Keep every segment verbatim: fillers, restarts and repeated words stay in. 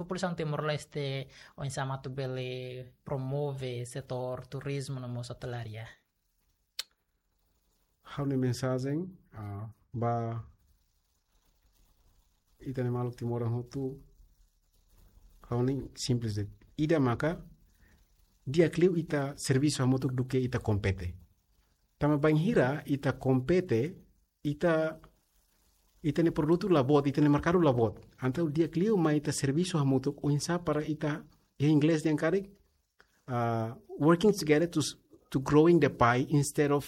populasaun Timor-Leste oinsá mak atu bele promove setór turizmu no mós otelaria? Ha'u-nia mensajen, ah, ba ita-nia maluk timoroan hotu, ha'u-nia simples de'it. Ida maka, di'ak liu ita servisu hamutuk duké ita kompete. Tanba bainhira ita kompete, ita, ita-nia produtu la boot, ita-nia merkadu la boot. Entaun di'ak liu mai ita servisu hamutuk, oinsá para ita, iha inglés dehan karik, uh, working together to s-, to growing the pie instead of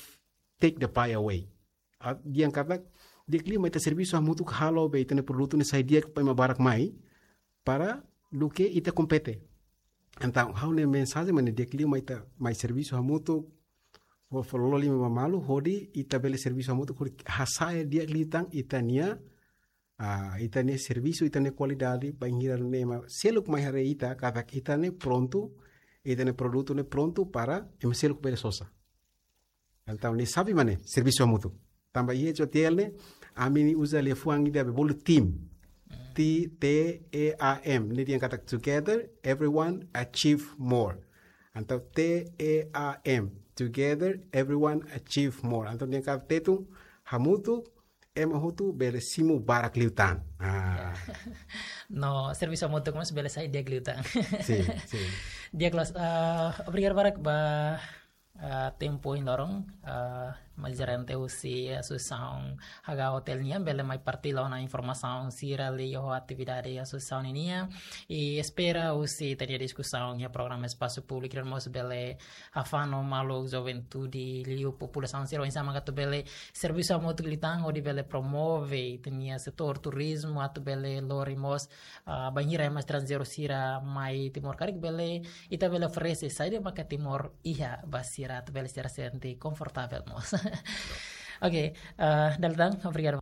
take the pie away. Ah, dehan katak, di'ak liu mai ita servisu hamutuk halo be ita-nia produtu ne'e sai di'ak ba ema barak mai, para duké ita kompete. Entaun, ha'u-nia mensajen mak ne'e, di'ak liu mai ita, mai servisu hamutuk, fó, fó loloos liman ba malu, hodi ita bele servisu hamutuk, hodi hasa'e di'ak liután ita-nia, ah, ita-nia servisu, ita-nia kualidade, bainhira ne'e ema seluk mai haree ita, katak ita ne'e prontu, ita-nia produtu ne'e prontu para ema seluk bele sosa. Entaun, ne'e xave mak ne'e, servisu hamutuk. Tanba iha H O T L ne'e, ami-nia uza liafuan ida be bolu team. Mm. T, T E A M. Ne'e dehan katak together, everyone achieve more. Entaun, T E A M. Together, everyone achieve more. Entaun, dehan katak Tetun, hamutuk, ema hotu bele simu barak liután. Ah. Ya. No, servisu hamutuk mós bele sai di'ak liután. Sin, sin. Di'ak loos, ah, obrigadu barak ba, ah, tempu ohin loron, ah, maneja gerente husi asosiasaun H H O Hotel nian, bele mai partilla ona informasaun sira liuhosi atividade asosiasaun ninian. I espera husi ita-nia diskusaun iha programa Espasu Públiku ida-ne'e mós bele hafano maluk juventude liu populasaun sira oinsá mak atu bele servisu hamutuk liután hodi bele promove ita-nia setór turizmu atu bele lori mós, ah, bainhira ema estranjeiru sira mai Timor karik bele ita bele oferese saida maka Timor iha ba sira atu bele sira sente konfortavel mós. Oke, ah, dala ida tan, obrigadu.